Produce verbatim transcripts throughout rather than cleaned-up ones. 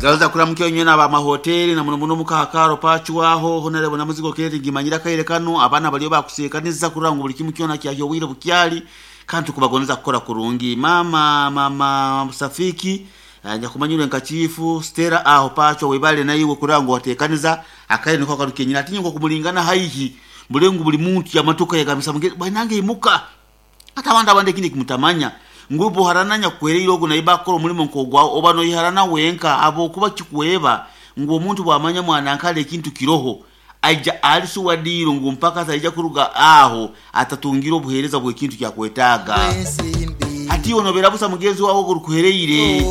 Gaza kuramukiyo nywe n'aba mahoteli na muno muno mukahakaro pachwaho honorable na muzigo keri ngimanyira kaire kano abana baliyo bakusekaniza kuranga buli kimu kyona kyahyo bukyali kandi kubagoneza kukora kurungi. Mama mama Safiki anja kumanyura nka chifu Stella aho pacho webale naiwe kurango watekaniza akaire niko karukenyira ati nyingo kumulingana haihi mulengu buli muntu yamatuka yagamisa mugezi bwanange imuka ata abandi abandi kindi kimutamanya ngubu harananya kwereire ogu naiba akora omulimo nkogwa oba noyiharana wenka abo kuba kikuweba ngu omuntu bwamanya mwana nkale ekintu kiroho aija alisuwadiro ngu mpaka saija kuruga aho atatungira obuhereza bw'ekintu kyakwetaaga ati onobera busa mugenzi wawe ogurukuhereire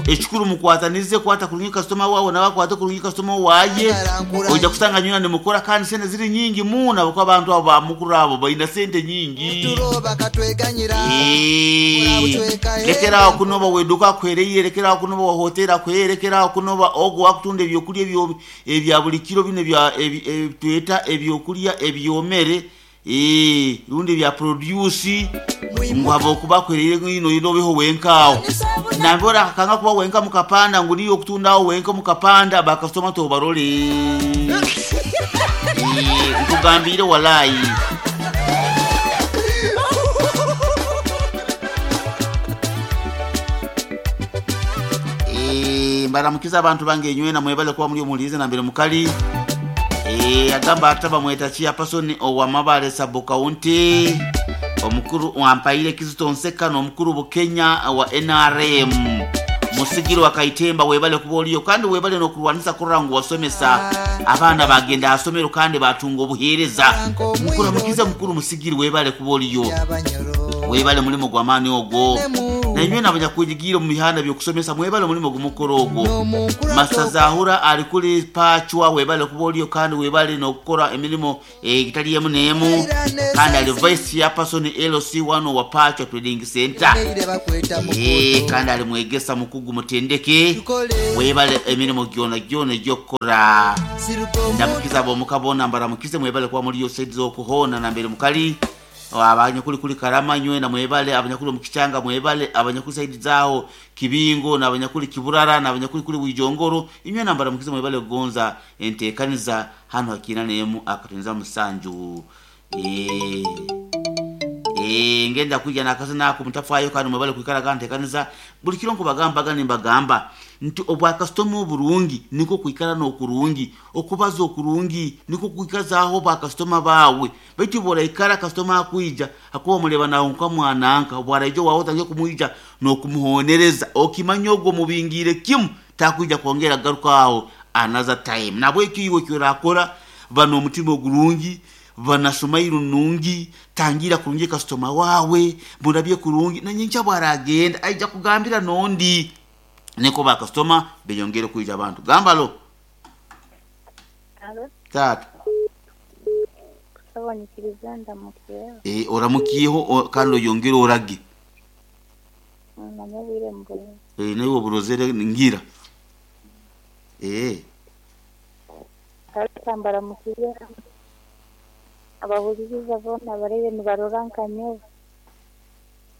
ekikuru mukwatanize kwata kurungi customer wawe nawe akwate kurungi customer waye oija kusanga nyina nimukora kandi sente ziri nyingi muna kuko abantu abo bamukuru abo baina sente nyingi. Lekera kunoba weduka kwereire, lekera kunoba wa hotela kwereire, lekera kunoba ogo wakutunda ebyokulya ebyo ebya buli kiro bino ebya tweta ebyokulya ebyomere eh rundi bya produce ngwabo kuba kwereire ngino inobeho wenkawo nambora kanga kuba wenka mukapanda nguniyo kutundawo wenka mukapanda ba customer to barole eh nkugambire walai. Mbaramukiza abantu bange nywe na mwebale kuba muri omulize na mbere mukali eh agamba ataba mweta chia person owa mabale sub county omukuru wampaire Kizito Nseka n'omukuru Bukenya wa N R M musigiro wa Kaitemba webale kuba oliyo kandi webale n'okurwanisa kurangu wasomesa abaana bagenda asomero kandi batunga obuheereza. Mukuru mukiza mukuru musigiro webale kuba oliyo webale mulimo gwa maani ogwo nanywe n'abanyakujigira mu mihanda byokusomesa mwebale mulimo gumukoro ogwo. Masazahura ali kuli pachwa webale kuba oliyo kandi webale n'okukora emirimu egitali emu n'emu kandi ali vice ya person L C one wa Pachwa Trading Center eh kandi ali mwegesa mukugu mutendeke webale emirimu gyona gyona gyokora. Ndamukiza abo mukabona mbaramukize mwebale kuba muri yo side zokuhona na mbere mukali abanyakuli kuli Karama nywe na mwebale abanyakuli mukichanga mwebale abanyakuli side zao Kibingo na abanyakuli Kiburara na abanyakuli kuli Bwijongoro inywe na mbaramukize mwebale kugonza entekaniza hano hakina nemu akatunza musanju eh eh ngenda kuja nakasa nako mutafayo kandi mwebale kuikara kandi entekaniza buli kiro nkubagamba gani mbagamba nti obwa customer oburungi niko kuikara no kurungi okubaza okurungi niko kuikazaho ba customer bawe baitu bora ikara customer akuija akuba muleba nawo nka mwananka obwaraijo wawe tange kumuija no kumuhonereza okimanya ogwo mubingire kimu takuija kwongera garuka aho another time nabwe kiwe kyorakora bano omutima ogurungi banasomairu nungi tangira kurungi customer wawe murabye kurungi na nyincha bwaragenda aija kugambira nondi niko ba customer beyongere kuija abantu gambalo. Alo. Tata Sabanyikiriza ndamukiye. Eh oramukiyeho kandi yongere orage. Namubire mbure. Eh nayo oburozere ngira. Eh Kalambara mukiye. Abahuriza bona barebe nibarorankanye.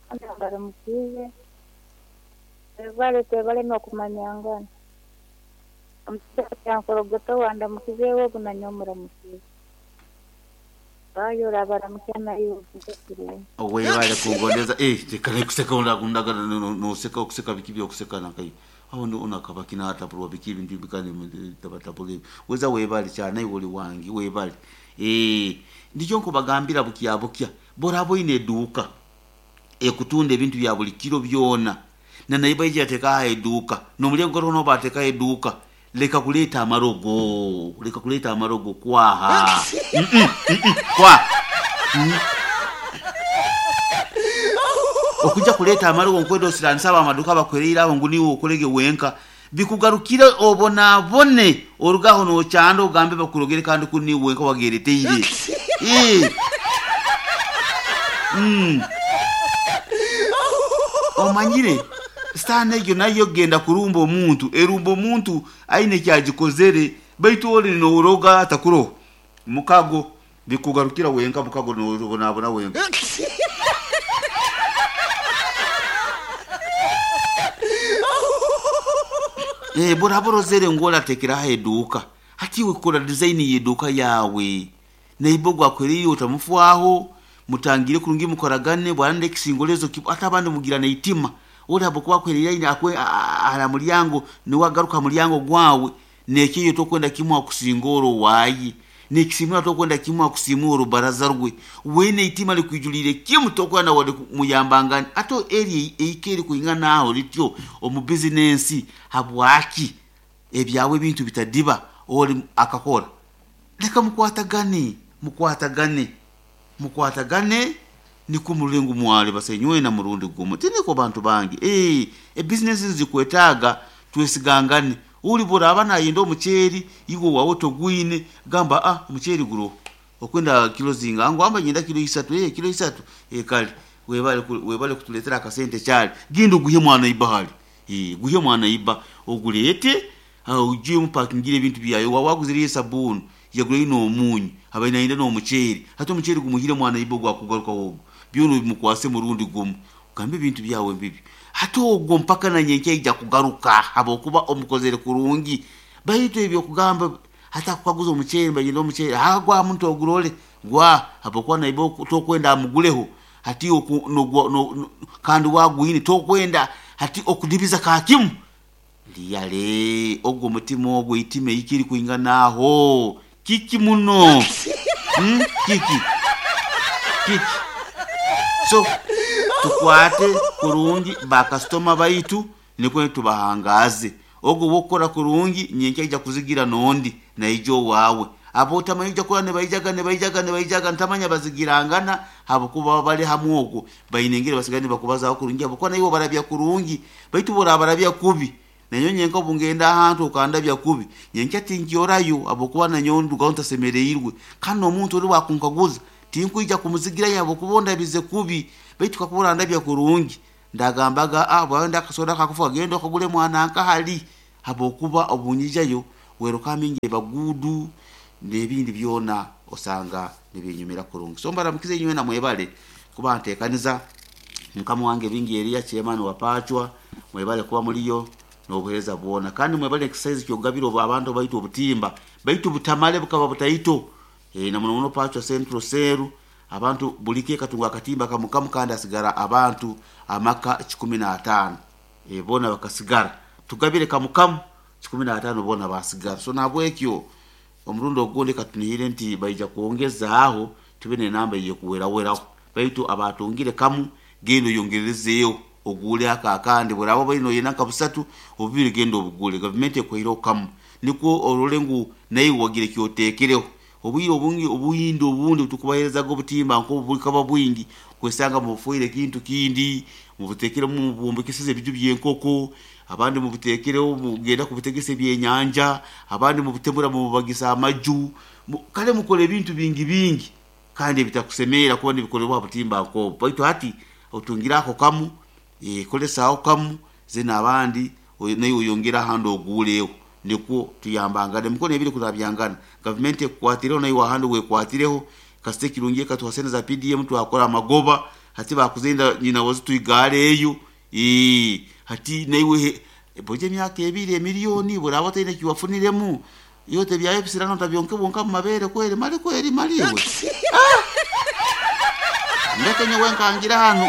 Andambara mukiye. Bale tebale no kumanyangana. Omusajja nkorogoto wanda mukizeewo bunanyomura mukize. Bayo rabara mukana iyo kusikire. Owe bale kugondeza eh tekale kuseka unda no no seka okuseka bikibi okuseka nakai. Aho ndo unakabaki na hata pro bikibi ndi bikani tabatapole. Weza webale cyane woli wangi webale. Eh ndicho nkubagambira bukiya bukiya borabo ine duka. Ekutunda ebintu bya buli kiro byona. Na naiba ije ateka eduka no mulyango rono bateka eduka leka kuleta amarogo leka kuleta amarogo kwaha mm -mm, mm -mm, kwa mm. Okuja kuleta amarogo nkwedo siransaba amaduka bakwerera aho nguni okolege wenka bikugarukira obona bone orugaho no cyando ugambe bakurogere kandi kuni wenka wagereteire eh mm omanyire stane egyo nayo genda kurumba omuntu erumba omuntu aine kyagikozere baitu oli no atakuro mukago bikugarukira wenka mukago no nabona wenka. Eh, buraborozere ngolatekeraho eduuka hati iwe kora design y'eduuka yawe neighbor gwakwereye otamufwaho mutangire kurungi mukoragane bwarande ekisingolezo ate abandi mugira neitima ori habwokuba akwereye akwe ara mulyango niwagaruka mulyango gwawe nekiyo tokwenda kimwe akusingora wayi nekisimura tokwenda kimwe akusimura orubaraza rwe wene itima likwijulire kimu tokwenda wade muyambangani ato eri eikeri kuingana aho lityo omu bizinensi habwaki ebyawe ebintu bitadiba ori akakora leka mukwatagane mukwatagane mukwatagane niko mulengo mwale basenywe na murundi gumu tiniko bantu bangi eh e business zikwetaga twesigangane uli buraba nayenda omucheri igo wawe togwine gamba ah omucheri guro okwenda kilo zinga ngo amba nyenda kilo isatu eh kilo isatu eh kale webale webale kutuletera akasente cyali gindo guhe mwana ibahali eh guhe mwana iba ogulete ujye mupakingire ebintu byayo wawaguziriye sabuni yagure ino omunyu abaina ina no mucheri hata omucheri gumuhire mwana ibo gwakugaruka wogo byono bimukwase murundi gumu gambe ebintu byawe bibi hata ogwo mpaka na nyenke ija kugaruka habokuba omukozere kurungi baitu ebyo kugamba hata kukaguza omucheri bagenda omucheri agwa muntu ogurole gwa habokuba naibo tokwenda amuguleho hati oku, no, no, no, kandi wagwine tokwenda hati okudibiza kakimu liyale ogwo mutima ogwo itime ikiri kuinganaho kiki muno hmm? kiki kiki so tukwate kurungi bakasitoma baitu nikwo tubahangaze ogwo wokora kurungi nyenke ija kuzigira nondi naijo wawe abo otamanyi ija kora nebaijaga nebaijaga nebaijaga ntamanya bazigirangana habokuba bali hamwe ogwo bainengere basigane bakubazaho kurungi habokuba naiwe barabya kurungi baitu borabarabya kubi nanyo nyenka obungenda ahantu okandabya kubi nyenka tinkyorayo abokuba nanyo ndugaho ntasemereirwe kandi omuntu ori wakunkaguza tinkwija kumuzigira yabo kuba ondabize kubi baitu kakuba orandabya kurungi ndagambaga ah bwawe ndakasoda kakufa genda okagule mwana nkahali habokuba obunyijayo werukamingi bagudu n'ebindi byona osanga nibinyumira kurungi so mbaramukize nyiwe na mwebale kuba ntekaniza mukama wange bingi Elia chairman wapachwa mwebale kuba muliyo n'obuheereza bwona kandi mwebale exercise kyogabira obu abantu baitu obutimba baitu butamale bukaba butaito e, na muno muno pachwa central seru abantu bulike katunga akatimba kamukamu kandi asigara abantu amaka kikumi na atano e, bona bakasigara tugabire kamukamu kikumi na atano bona basigara so nabwekyo omurundi ogundi katunihire nti baija kwongezaaho tube nenamba eyekuweraweraho baitu abatungire kamu genda oyongerezeeho ogule aka akandi buraba baino yena nka busatu obubiri genda obugule gavumenti ekweireho kamu nikwo orole ngu naye wagire kyoteekereho obwire obungi obuyindi obundi tukubaherezaga obutimba nk'obukaba bwingi kwesanga mubufuire kintu kindi mubuteekeremu mubumbikisize ebiju by'enkoko abandi mubuteekereho mugenda kubutegesa ebyenyanja abandi mubutemura mububagisa amaju kale mukora ebintu bingi bingi kandi ebitakusemeera kuba nibikolebwa butimba nk'obu baitu hati otungira ako kamu e, kolesaho kamu zena abandi naye oyongera ahandi oguuleho nikwo tuyambangane mukono ebiri kurabyangana gavumenti ekukwatireho naye wahandi wekwatireho kasite kirungi ekatuha sente za P D M twakora amagoba hati bakuzenda nyina wazi tuigare eyo ee hati naiwe boje emyaka ebiri emiliyoni buraba otaine kiwafuniremu yote byayo bisirano tabyonke bonka mu mabere kweri mali kweri maliwe ah! Ndeke nyowe nkangira hano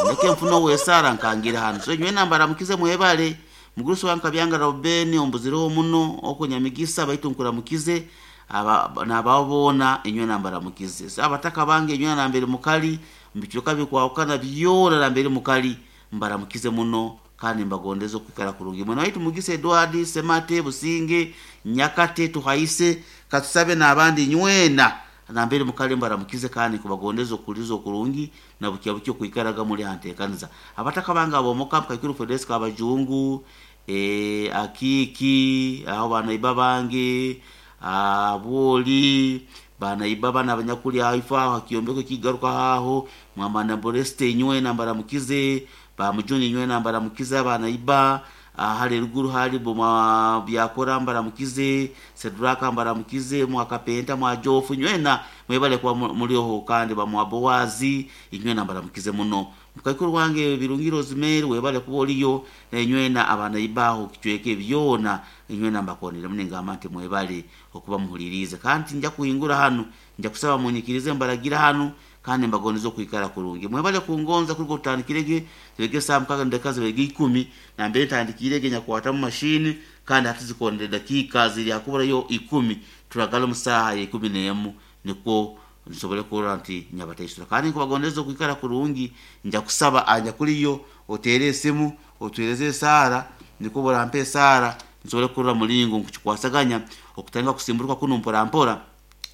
ndeke mfuno wesara nkangira hano so nyowe nambara mukize mwebale mugurusi wanka byanga Robeni ombuzireho muno okunyamigisa baitu nkuramukize aba nababona enywe nambara mukize so abataka bange enywe nambere mukali mbikiruka bikwawukana byona nambere mukali mbaramukize muno kandi mbagondeza okwikara kurungi mwana waitu mugise Edward Semate Businge Nyakate Tuhaise katusabe n'abandi nywena nambere mukali mbaramukize kandi kubagondeza okuliza okurungi na bukia bukyo kwikaraga muri hantekaniza abataka banga abomoka mukaikiru Fedeska abajungu e, akiki aho banaiba bange aboli banaiba bana abanyakuli haifa hakiombeko kigaruka haho mwamana Boreste nywena mbaramukize ba mujuni nywena mbaramukize banaiba Hali ruguru hali boma byakora mbaramukize Sedraka mbaramukize mwakapenta mwajofu nywena mwebale kwa mulioho kandi bamwabowazi inywena mbaramukize muno mukaikuru wange Birungiro Rosemary webale kuba oliyo nenywena abana ibaho kichweke byona inywena mbakonere munengamba nti mwebale okuba muhulirize kandi nja kuhingura hano nja kusaba munyikirize mbaragira hano kandi mbagonizo kuikara kurungi mwebale kungonza kuliko tutandikirege zibege saa mukaga ndeka zibege ikumi na mbere ntandikirege nyakwata mu mashini kandi hatizikondere dakika ziri akubura yo ikumi turagala mu saha ya ikumi n'emu niko nsobole kurora nti nyabateisura kandi nkubagondeza kuikara kurungi nja kusaba anja kuriyo otere esimu otuereze esara niko borampe esara nsobole kurora mulingo nkukikwasaganya okutandika kusimburuka kuno mpora mpora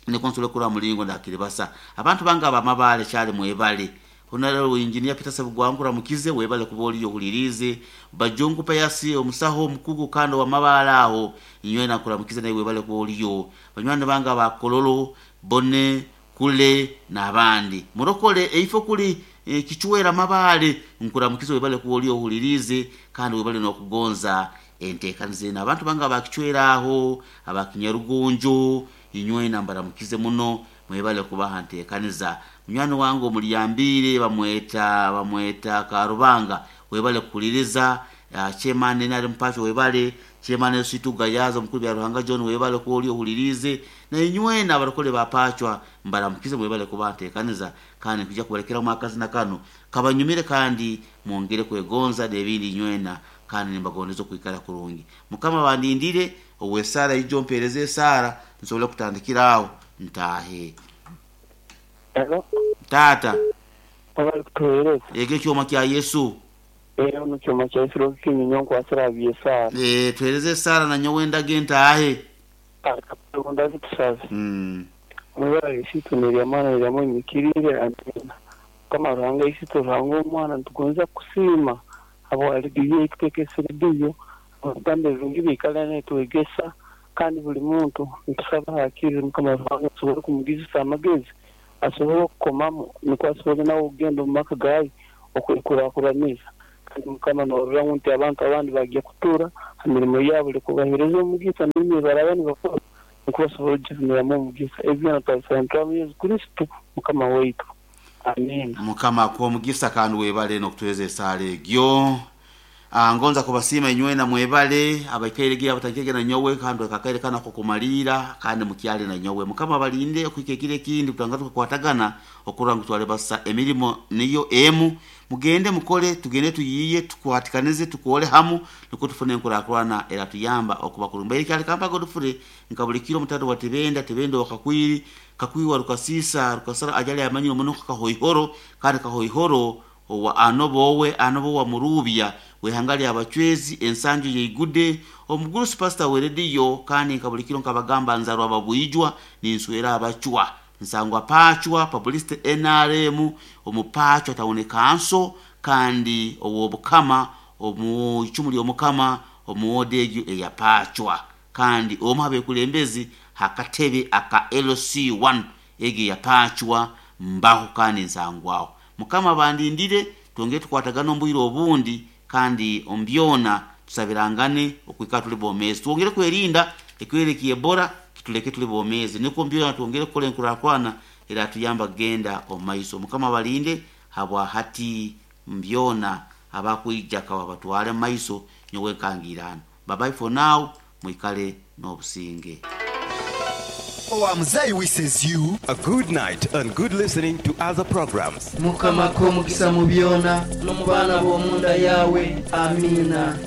niko nsobole kurora mulingo ndakiribasa abantu banga abamabale kyali mwebale Honorable Engineer Peter Sabugwangura mukize webale kuba oliyo hulirize Bajongu Payasi omusaho omukugu kando wa mabala aho inywena kuramukize naye webale kuba oliyo banywani banga bakololo bone kule n'abandi murokole eifo kuli e, kichwera mabale nkuramukize webale kuba oliyo hulirize kandi webale n'okugonza enteekanize n'abantu banga abakichwera aho abakinyarugunju inywena mbaramukize muno mwebale kubaha nteekaniza munywani wange omulyambire bamweta bamweta Karubanga webale kukuliriza uh, chairman nali mpacho webale chairman Situga Yazo mukuru bya Ruhanga John webale kuoli ohulirize na inywena abarokole bapachwa mbaramukize mwebale kuba nteekaniza kandi kujja kubalekera mu akazi na kano kabanyumire kandi mwongere kwegonza n'ebindi inywena kandi nimbagondeza okuikara kurungi mukama bandindire owesara ijo mpereze esara nsobole kutandikira aho ntahe. Hello? Tata Abali kutuhereza ege kyoma kya Yesu era mu kyoma kya Yesu kinyonyo nkwasira byesara eh tuhereze esara na nyowe ndage ntahe akakunda tusaze mm mwebale isitu nelyamana lyamwenyikirire amina kama Ruhanga isitu Ruhanga omwana ntugonza kusiima abo aligiye itutekeseredeyo abagambe ebirungi biikala netwegesa kandi buli muntu ntusaba hakirire Mukama Ruhanga asobole kumugizisa amagezi asobole okukomamu nikwo asobole nawe okugenda omu maka gaye okwekurakuraniza kandi Mukama norora nti abantu abandi bagiye kutura ha mirimo yabo likubahereza omugisa n'emirimo baraba nibakora nikwo basobole okugifuniramu omugisa ebyo twabisaba nitwaba Yesu Kristo Mukama waitu amen. Mukama akuwa omugisa kandi webale n'okutuhereza esaala egyo. Ah, ngonza kubasiima inywena mwebale abaikairege abatangirege na nyowe kandi akakaire kana kukumalira kandi mukyale na nyowe mukama balinde okuika ekiro ekindi kutanga tukakwatagana okurora ngu twale basa emirimo niyo emu mugende mukole tugende tuyiye tukwatikanize tukole hamu niko tufune enkurakurana era tuyamba okuba kurumba eri kyali kampa Godfrey nka buli kiro mutatu wa Tebenda Tebenda wakakwiri kakwiwa rukasisa rukasara ajali amanyiro muno kahoihoro kandi kahoihoro owa anobowe anobo wa murubya wehangali abachwezi ensanju yeigude omugurusi pastor werediyo kandi nkabulikiro nkabagamba nzarwa babwijwa ninswera abachwa nsangwa pachwa publicity N R M omupachwa taone kanso kandi owobukama omu icumu ly'omukama omuwodeju eyapachwa kandi omu abekulembezi hakatebe aka L C one ege yapachwa mbaho kandi nsangwaho mukama bandindire twongere tukwatagana ombwire obundi kandi ombyona tusabirangane okwika tuli bomezi twongere kwerinda ekwereki Ebola kituleke tuli bomezi niko mbyona twongere kukola enkurakwana era tuyamba genda omaiso mukama balinde habwa hati mbyona abakuija kawa batwale maiso nyowe nkangirana bye bye for now mwikale n'obusinge. Our Mzee wishes you a good night and good listening to other programs. Mukama ko mukisa mu byona no mu baana b'omunda yawe amina.